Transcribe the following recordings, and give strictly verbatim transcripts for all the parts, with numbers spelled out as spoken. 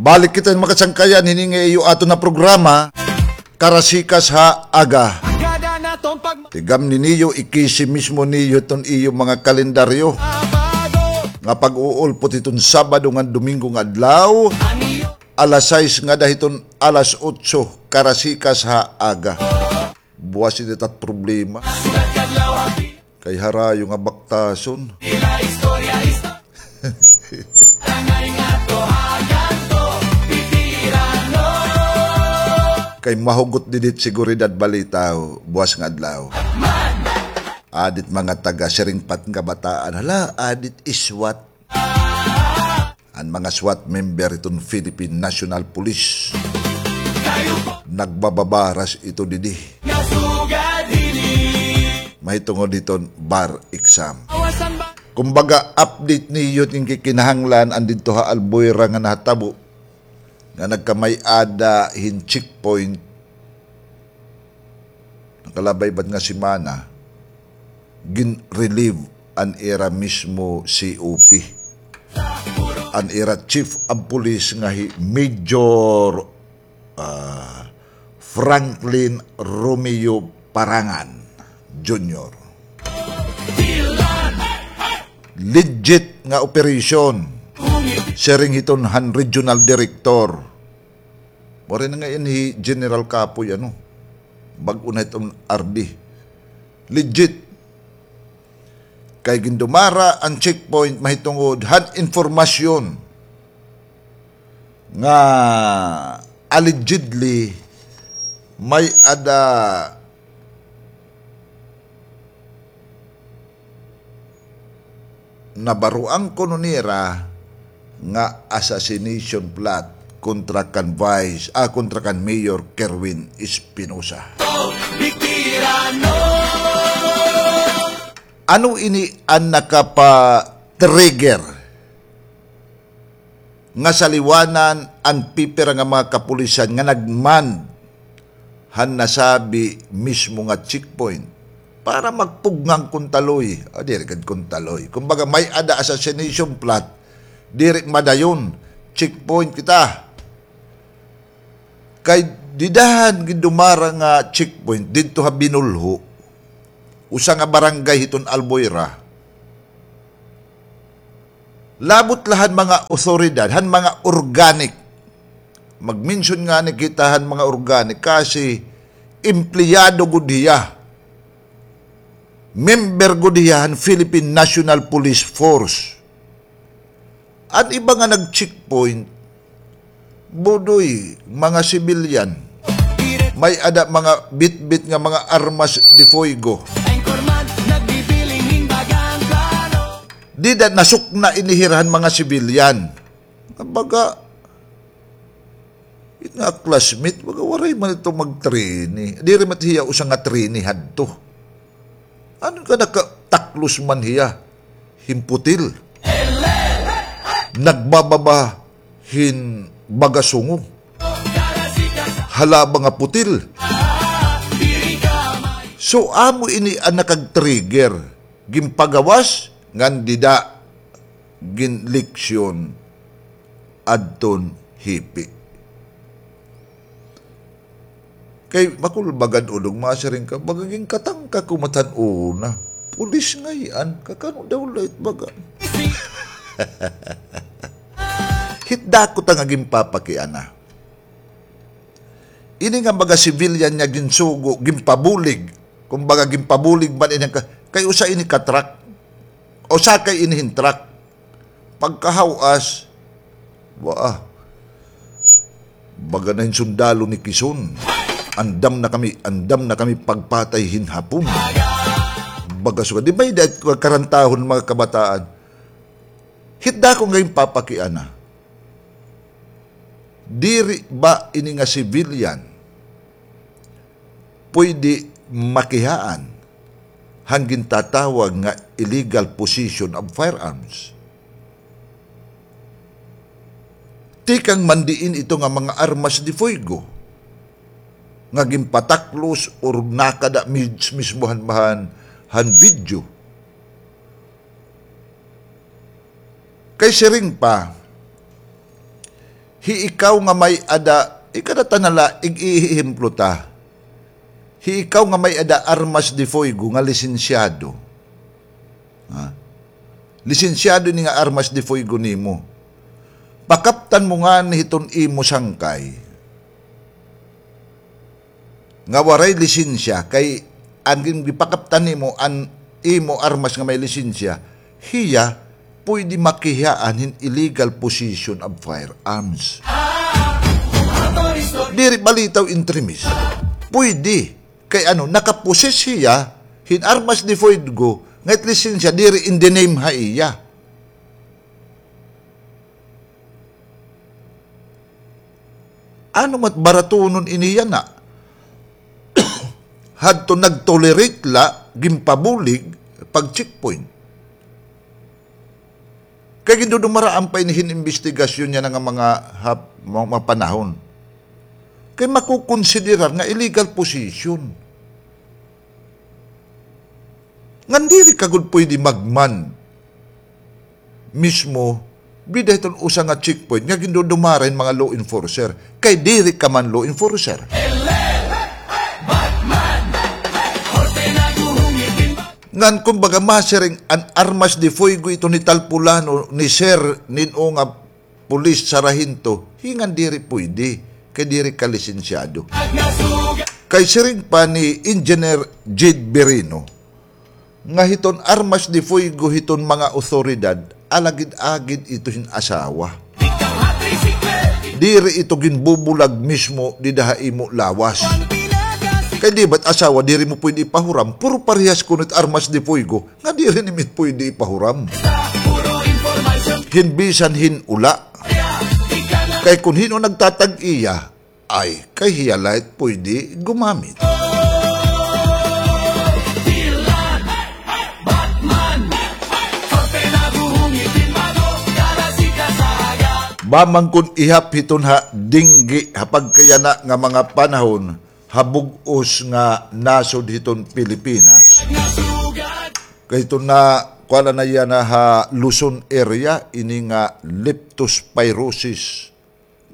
Balik kita, mga kasangkayan, hini nga iyo aton nga programa, Karasikas ha Aga. Tigam ni niyo, ikisi mismo niyo iton iyo mga kalendaryo nga pag-uulpot hiton Sabado ngan Domingo nga adlaw, alas sais ngada hiton alas otso, Karasikas ha Aga. Buwas ini ta it problema. Kay harayo nga baktason. Kay mahugot didi it seguridad balita, o, buwas nga adlaw. Adi it mga taga-Siring pa it kabataan. Hala, adi it SWAT. An mga SWAT member iton Philippine National Police. Nagbababaras ito didi. Mahitungod hiton bar exam. Kumbaga, update niyo it kinahanglan an didto ha Albuera nga nahatabo, nga nagkamay-ada hin checkpoint. Nakalabay bad nga semana, gin-relieve an ira mismo C O P, an ira Chief of Police nga hi Major, ah, Franklin Romeo Parangan Junior. Legit nga operation, siring hiton han regional director. Mao rin nga ini hi General Kapoy, ano, bag-o na iton R D. Legit. Kay gindumara an checkpoint mahitungod han impormasyon nga allegedly may-ada nabaroan kuno nira nga assassination plot kontra kan Vice, ah, kontra kan Mayor Kerwin Espinosa. Ano ini an nakapa-trigger nga saliwanan an pipira nga mga kapulisan nga nagmand han nasabi mismo nga checkpoint para magpugngan kon taloy. Ah, diri gad kon taloy. Kumbaga, may-ada assassination plot, diri madayon, checkpoint kita. Kay dida han gindumara nga checkpoint didto ha Binulho, usa nga barangay hiton Albuera. Labot la han mga awtoridad, han mga organic. Mag-mention ngani kita han mga organic kasi empleyado gud hiya. Member gud hiya han Philippine National Police Force. An iba nga nag-checkpoint, budoy, mga sibilyan. May-ada mga bitbit nga mga armas de fuego. Dida nasukna ini hira han mga sibilyan. Baga, it nga classmate, baga waray man ito magtrini. Diri man hiya usa nga trini hadto. Ano ka nakataklos man hiya? Hin putil. Nagbababa hin baga sungo. Halaba nga putil. So, amo ini an nakag-trigger. Ginpagawas ngan dida ginleksyon adton hipi. Kay makulba gad ulog, masiring ka, baga ginkatangka ko man han una. Pulis ngay-an, kakano daw la it baga. Hit dako ta nga ginpapakiana. Ini nga mga civilian nga ginsugo, ginpabulig. Kumbaga, ginpabulig man ini ka, kay usa ini ka truck. Usa kay ini hin truck. Pagkahawas, wa, baga na hin sundalo ni Quezon. Andam na kami, andam na kami pagpatay hin Hapon. Baga sugad. Di ba, dahil karantahon mga kabataan? Hit dako nga ginpapakiana. Diri ba ini nga civilian pwede makihaan han gintatawag nga illegal possession of firearms? Tikang man diin ito nga mga armas de fuego nga ginpataklos or nakada mis-, mismo han, han, han video. Kay siring pa, Hi ikaw nga may-ada, ikadatan na la, ig-iehemplo ta. Hi ikaw nga may-ada armas de fuego nga lisensyado. Ha? Lisensyado ini nga armas de fuego nimo. Pakaptan mo ngani hiton imo sangkay nga waray lisensya, kay an gin-, gipakaptan nimo an imo armas nga may lisensya, hiya puyde makihiya hin illegal possession of firearms. Diri balitaw entremis. Puyde. Kay ano, nakaposes hiya hin armas de fuego nga it lisensya diri in the name ha iya. Ano mat baratunon ini yana? Hadto nag-tolerate la, ginpabulig, pag-checkpoint. Kay gindudumaraan pa ini hin imbestigasyon yana nga mga hap-, mga, mga panahon. Kay makukonsiderar nga illegal possession. Ngan diri ka gud puyde mag-man mismo, bida hiton usa nga checkpoint nga gindudumara hin mga law enforcer. Kay diri ka man law enforcer. Ngan kumbaga masiring an armas de fuego ito ni tal pulano, ni sir, nin-o nga pulis, sarahento, hi ngan diri puyde, kay diri ka lisensyado. Kay siring pa ni Engineer Jade Birino, nga hiton armas de fuego hiton mga awtoridad, alagid-agid ito hin asawa. Diri ito ginbubulag mismo dida ha imo lawas. Kay di ba't asawa, diri mo puyde ipahuram, puro parehas kuno it armas de fuego, nga diri nimo puyde ipahuram hin bisan hin-o la. Kay kon hin-o nagtatag-iya, ay, kay hiya la it puyde gumamit. Ba man kon ihap hiton ha dengge ha pagkayana nga mga panahon, ha bug-os nga nasod hiton Pilipinas. Kay hiton na, kuan na yana ha Luzon area, ini nga leptospirosis,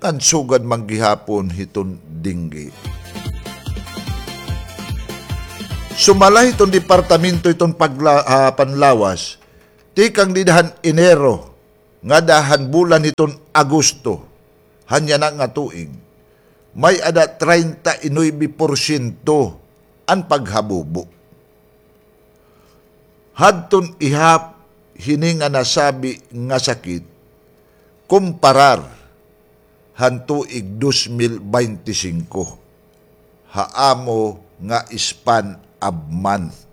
ngan sugad man gihapon hiton dengge. Sumala hiton departamento hiton pagla-, ah, panlawas, tikang dida han Enero, ngada han bulan hiton Agosto, han yana nga tuig, may-ada treinta y nuebe porsyento an paghabubo. Hadton ihap hini nga nasabi nga sakit, kumparar han tuig dos mil baynte singko, ha amo nga span of month.